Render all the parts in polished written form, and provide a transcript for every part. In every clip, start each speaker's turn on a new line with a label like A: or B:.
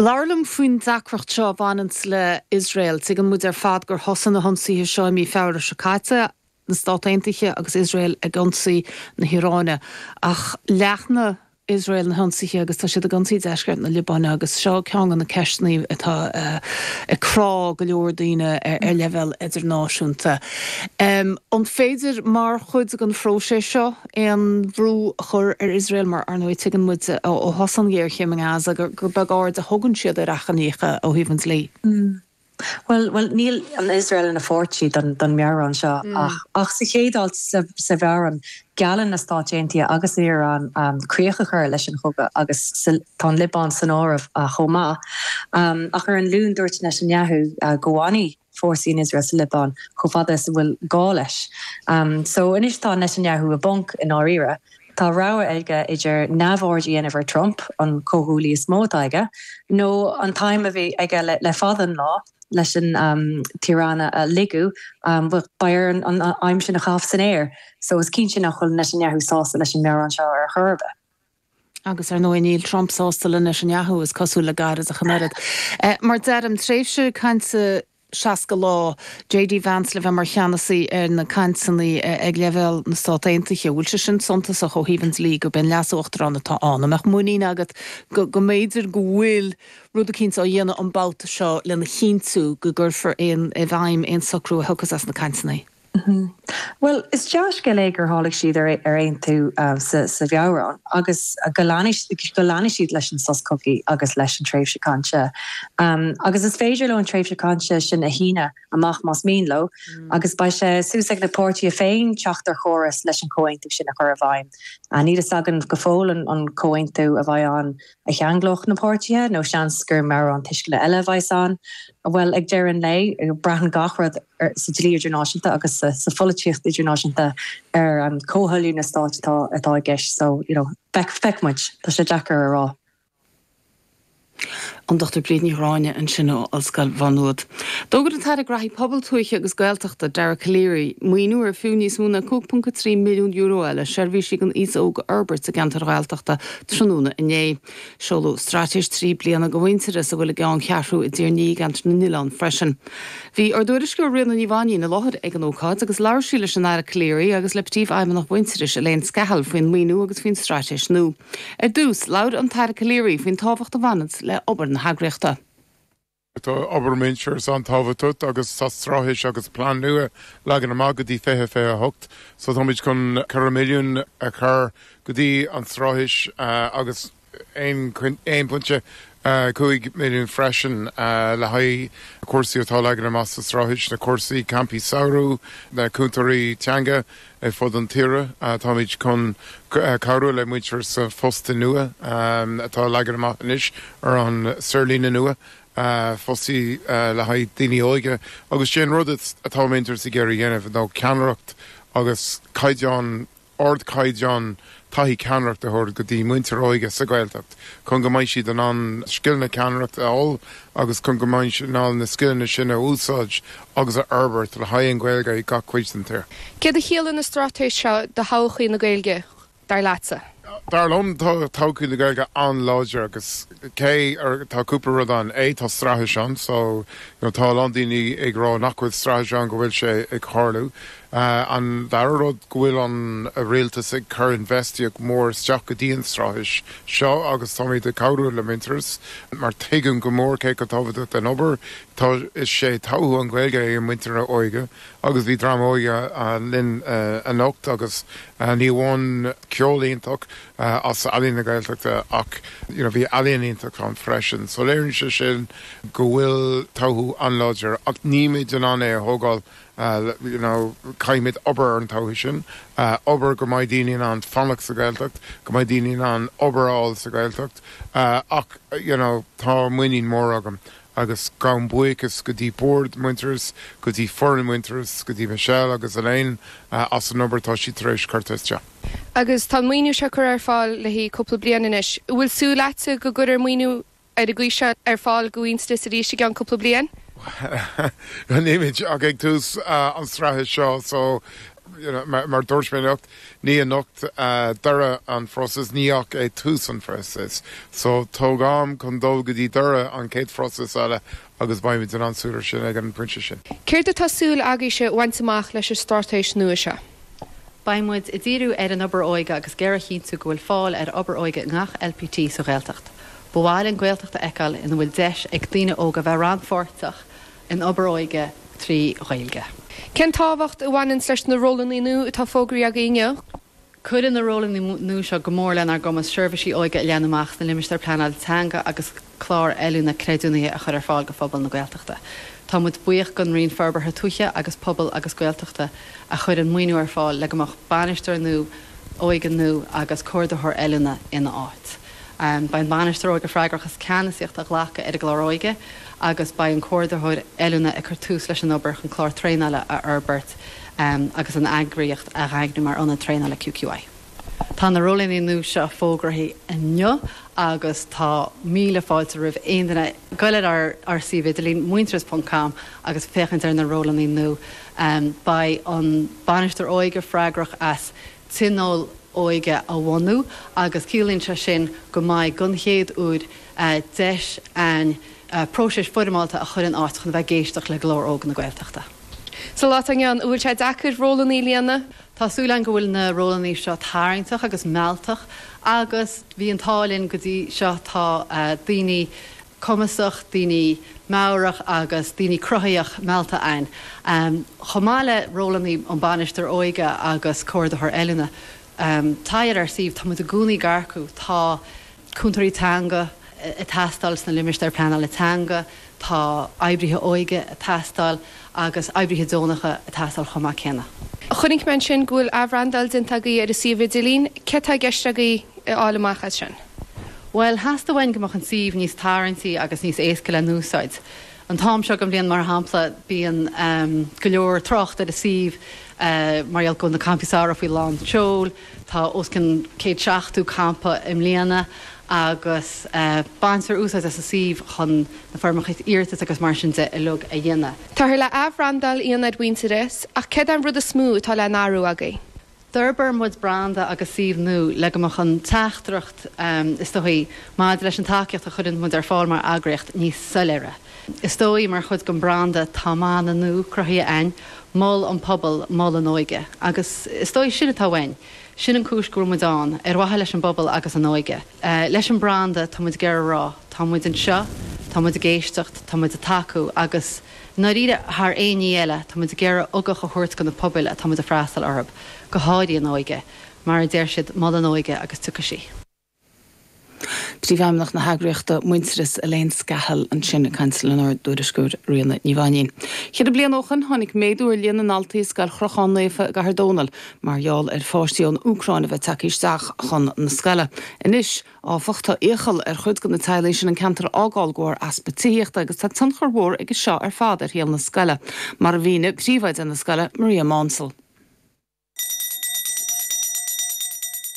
A: Labhair liom faoin deacracht seo a bhaineanns le Iosrael. Tuigeann muid ar fad gur thosaigh na hionsaithe seo i mí Feabhra seo caite, na Stáit Aontaithe agus Iosrael ag ionsaí na hIaráine. Ach leathnaigh Iosrael na hionsaithe agus tá siad ag ionsaí deisceart na Liobáine agus seo ceann de na ceisteanna atá ag crá go leor daoine ar leibhéal idirnáisiúnta. An féidir, mar chuid den phróiseas seo, aon bhrú a chur ar Iosrael mar, ar ndóigh, tuigeann muid ó thosaigh an ghéarchéim i nGaza gur beag aird a thugann siad ar achainíocha ó thaobh an dlí.
B: Bhuel, bhuel, níl an Iosrael ina pháirtí don don meabhrán seo ach ach sa chéad alt sa sa mheabhrán geallann na Stáit Aontaithe agus an Iaráin críoch a chur leis an chogadh agus sa tá an Liobáin san áireamh chomh maith. Ach ar an Luan dúirt Netanyahu go bhfanfaidh fórsaí an Iosrael sa Liobáin chomh fada is a bhfuil gá leis. So anois tá Netanyahu i bponc i ndáiríre. Tá rogha aige idir neamhaird a dhéanamh ar Trump, an comhghuaillí is mó atá aige, nó an t-aidhm a bhí aige le fada an lá, leis an tIaráin a lagú, beidh air an aidhm sin a chaitheamh san aer. So is cinnte nach bhfuil Netanyahu sásta leis an meabhrán seo ar chor ar bith.
A: Agus ar ndóigh níl Trump sásta le Netanyahu, is cosúil le gairid ach an oiread. Mar deirim, tréimhse cainte 60 lá, JD Vance le bheith mar cheannasaí ar na cainteanna ag leibhéal na Stát Aontaithe. Bhfuil sé sin suntasach ó thaobh an dlí gurb é an Leas-Uachtarán atá ann? An mbeadh muinín agat go go mb'fhéidir go bhfuil rud eicínt á dhéanamh an babhta seo lena chinntiú go gcuirfear aon i bhfeidhm aon socrú a thiocfas as na cainteanna?
B: Bhuel, is dea-scéal é gur tháinig siad ar aontú sa mheabhrán agus go leanfaidh siad leis an sos cogaidh agus leis an tréimhse cainte. Agus is féidir leo an tréimhse cainte sin a shíneadh amach más mian leo agus beidh sé suas ag na páirtithe féin teacht ar chóras leis an chomhaontú sin a chur i bhfeidhm. Níl a fhios againn go fóill an comhaontú a bheidh ann a cheanglódh na páirtithe, nó seans gur meabhrán tuisceana eile a bheas ann. Bhuel, ag deireadh an lae, braitheann gach rud sa dlí idirnáisiúnta agus sa pholaitíocht idirnáisiúnta ar comhthoiliú na stáit atá i gceist. So, you know, feicfidh muid. Tá sé deacair a rá.
A: An Dr Bríd Ní Ghráinne ansin ó Ollscoil Mhá Nuad. D'fhógair an tAire Graithí Pobail, Tuaithe agus Gaeltachta, Dara Calleary, maoiniú ar fiú níos mó ná €5.3 milliún é le seirbhísí don aos óg a fhorbairt i gceantair Ghaeltachta tráthnóna inné. Seoladh straitéis 3 bliana do Mhuintearas, a bhfuil a gceanncheathrú i dTír an Fhia i gCeantar na nOileán freisin. Bhí ár dtuairisceoir Ríona Ní Mhainín i láthair ag an ócáid agus labhair sí leis an Aire Calleary agus le Príomhfheidhmeannach Mhuintearais, Elaine Scahill faoin maoiniú agus faoin straitéis nua. Ar dtús, labhair an tAire Calleary faoin tábhacht a bhaineanns le obair na heagraíochta.
C: Tá obair Muintearas an-tábhachtach agus tá straitéis agus plean nua leagan amach go dtí 2028 so táimid chun 4 milliún a chur go dtí an straitéis agus 1.5 milliún freisin le haghaidh cúrsaí atá leagan amach sa straitéis, na cúrsaí campaí samhraidh, na cúntóirí teanga ar fud an tíre. Táimid chun cabhrú le Muintearas sa phostaí nua atá leagan amach anois ar an saorlíne nua, fostaí le haghaidh daoine óige agus sé an rud atá Muintearas ag iarraidh a dhéanamh ná ceannaireacht agus caighdeán ardchaighdeán taithí ceannaireachta a thabhairt go dtí muintir óige sa Ghaeltacht chun go mbeidh siad in ann scileanna ceannaireachta a fháil agus chun go mbeidh siad in ann na scileanna sin a úsáid agus a fhorbairt le haghaidh an Ghaeilge i gach cuid den tír.
D: Céard a chiallaíonn an straitéis seo do thodhchaí na Gaeilge, dar leatsa?
C: Dar liom, tá todhchaí na Gaeilge an-láidir agus cé tá cúpla rud ann. A, tá straitéis ann so you know tá a lán daoine ag rá nach bhfuil straitéis ann go bhfuil sé ag tarlú. An dara rud go bhfuil an rialtas ag cur infheistíocht mór isteach go dtí an straitéis seo agus táimid ag cabhrú le Muintearas mar tuigim go mór cé chomh tábhachtach den obair tá is sé todhchaí an Ghaeilge é an muintir óige agus bhí dream óige linn anocht agus ní amháin ceol iontach as Ealaín na Gaeltachta ach you know bhí ealaíon iontach ann freisin so léiríonn sé sin go bhfuil todhchaí an-láidir ach nílimid in ann é a thógáil you know caithfimid obair ar an todhchaí sin, obair go mbeidh daoine in ann fanacht sa Ghaeltacht, go mbeidh daoine in ann obair a fháil sa Ghaeltacht ach you know tá muinín mór agam agus gabhaim buíochas go dtí bord Muintearas, go dtí foireann Muintearas, go dtí Michelle agus Elaine as an obair atá siad tar éis cur isteach.
D: Agus tá an maoiniú seo curtha ar fáil le haghaidh cúpla bliain anois. An bhfuil súil agatsa go gcuirfear maoiniú ar an gcaoi seo ar fáil do Mhuintearas arís i gceann cúpla bliain?
C: Nílimid ach ag tús an straitéis seo so. you know, mar dúirt mé anocht, ní anocht deireadh an phróisis, ní ach é tús an phróisis. So tóg am chun dul go dtí deireadh an chéad phróisis eile agus beimid in ann súil ar sin ag an bpointe sin.
D: Céard atá súil agaibhse a bhaint amach leis an straitéis nua seo?
B: Beidh muid ag díriú ar an obair óige agus ag iarraidh a chinntiú go bhfuil fáil ar obair óige i ngach LPT sa Ghaeltacht. Ba mhaith linn Gaeltacht a fheiceáil ina bhfuil deis ag daoine óga bheith rannpháirteach in obair óige trí Ghaeilge.
D: Cén tábhacht a bhaineanns leis na rólanna nua atá fógraithe agaibh inniu?
B: Cuireann na rólanna nua seo go mór lenár gcumas seirbhísí óige a leathnú amach sna limistéir pleanála teanga agus clár oiliúna creidiúnaithe a chur ar fáil go phobal na Gaeltachta. Tá muid buíoch don Roinn Forbartha Tuaithe agus Pobail agus Gaeltachta a chuir an maoiniú ar fáil le go mbeadh bainisteoir nua óige nua agus comhordaitheoir oiliúna ina áit. Beidh an bainisteoir óige freagrach as ceannasaíocht a ghlacadh ar an gclár óige agus beidh an comhordaitheoir oiliúna ag cur tús leis an obair chun clár traenála a fhorbairt agus an eagraíocht a dhaingniú mar ionad traenála QQI. Tá na rólanna nua seo fógraithe inniu agus tá míle fáilte roimh aon duine goil ar ár suíomh idirlín, muintearas ponc com, agus féachaint ar na rólanna nua. Beidh an bainisteoir óige freagrach as tionól óige a bhunú agus ciallaíonn sé sin go mbeidh, don chéad uair, deis a'inn próiseas foirmeálta a chur in áit chun a bheith ag éisteacht le glór óg na Gaeltachta.
D: Sa lá atá inniu ann, an bhfuil sé deacair rólanna a líonadh?
B: Tá súil a'inn go bhfuil na rólanna seo tarraingteach agus mealltach agus bhí an t-ádh linn go dtí seo, tá daoine cumasach, daoine meabhrach agus daoine cruthaitheach meallta a'inn. Chomh maith le rólanna an bainisteoir óige agus comhordaitheoir oiliúna. Téigh ar ár suíomh, tá muid i gcónaí ag earcú, tá cúntóirí teanga ag teastáil sna limistéir pleanála teanga, tá oibrithe óige ag teastáil agus oibrithe deonacha ag teastáil chomh maith céanna.
D: Chonaic mé ansin go bhfuil athbhrandáil déanta agaibh ar an suíomh idirlín. Céard tá i gceist agaibh a fháil amach as sin?
B: Bhuel, theastaigh uainn go mbeadh an suíomh níos tarraingtí agus níos éasca le n-úsáid. An t-am seo den bhliain, mar shampla, bíonn go leor trácht ar an suíomh mar gheall go bhfuil na campaí samhraidh faoi lán tseoil. Tá os cionn 170 campa i mbliana agus baintear úsáid as an suíomh chun na foirmeacha iarratais agus mar sin de uilig a dhéanamh.
D: Táthar le athbhrandáil a dhéanamh ar Mhuintearas, ach céard é an rud is mó atá le n-athrú agaibh?
B: D'fhorbair muid branda agus suíomh nua le go mbeadh an teachtaireacht, is dóigh, maidir leis an tacaíocht a chuireann muid ar fáil mar eagraíocht níos soiléire. Is dóigh, mar chuid den branda, tá mana nua cruthaithe a'inn, Mol an Pobal, Mol an Óige. Agus is dóigh sin atá uainn. Sin an cúis go bhfuil muid ann, ar mhaithe leis an bpobal agus an óige. Leis an branda, tá muid ag iarraidh a rá, tá muid anseo, tá muid ag éisteacht, tá muid ag tacú agus, I ndáiríre, thar aon ní eile, tá muid ag iarraidh ugach a thabhairt do na pobail atá muid ag freastal orthu, go háirithe an óige. Mar a deir siad, mol an óige agus tiocfaidh sí.
A: Príomhfheidhmeannach na heagraíochta Muintearas, Elaine Scahill ansin ag caint lenár dtuairisceoir Ríona Ní Mhainín. Cheithre bliana ó shoin tháinig méadú ar líon na ndaltaí i Scoil Chrocháin Naofa i gCathair Dónall mar gheall ar pháistí ón Úcráin a bheith tagtha isteach chun na scoile. Anois, Áfach, tá iachall ar chuid de na teaghlaigh sin an ceantar a fhágáil de bharr easpa tithíochta agus tá tionchar mhór aige seo ar fad ar shaol na scoile, mar a mhínigh príomhoide na scoile, Maria Maunsell.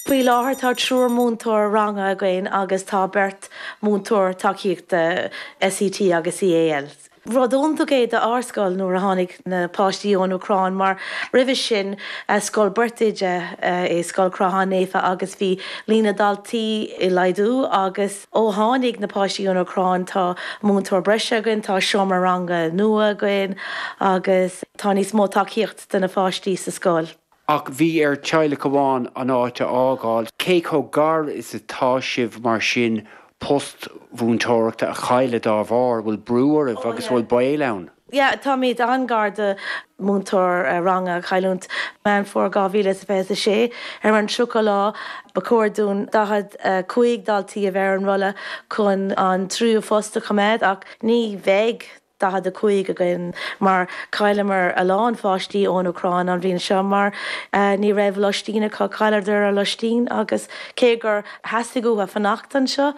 E: Faoi láthair tá triúr múinteoir ranga againn agus tá beirt múinteoir tacaíochta SET agus EAL. Rud iontach é do ár scoil nuair a tháinig na páistí ón Úcráin mar roimhe sin scoil beirt oide é Scoil Chrocháin Naofa agus bhí líon na ndaltaí ag laghdú agus ó tháinig na páistí ón Úcráin tá múinteoir breise againn, tá seomra ranga nua againn agus tá níos mó tacaíocht do na pháistí sa scoil.
F: Ach bhí ar teaghlach amháin an áit a fhágáil. Cé chomh gar is atá sibh mar sin post mhúinteoireachta a chailleadh dá bharr? Bhfuil brú oraibh agus bhfuil baol ann?
E: Yeah, táimid an-gar do múinteoir ranga a chailliúint. Meán Fómhair 2026, ar an 30 lá, ba chóir dúinn 45 daltaí a bheith ar an rolla chun an tríú phost a choimeád ach ní bheidh. 45 againn mar chailleamar a lán pháistí ón Úcráin an bhliain seo mar ní raibh loistín acu, chailleadar a loistín agus cé gur theastaigh uathu fanacht anseo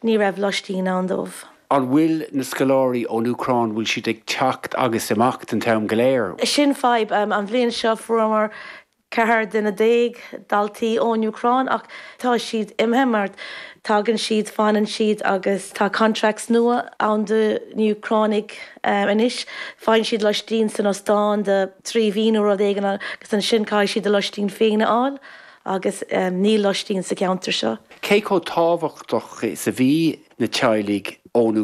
E: ní raibh loistín ann dóibh.
F: An bhfuil na scoláirí ón Úcráin, bhfuil siad ag teacht agus imeacht an t-am go léir?
E: Sin fadhb. An bhliain seo fuaireamar. 14 duine daltaí ón Úcráin ach tá siad imithe mar tagann siad, fanann siad agus tá contracts nua ann do na Úcránaigh anois. Faigheann siad loistín san ostán do 3 mhí nó rud éigin agus ansin caithfidh siad a loistín féin a fháil agus níl loistín sa cheantar seo.
F: Cé chomh tábhachtach is a bhí na teaghlaigh ón.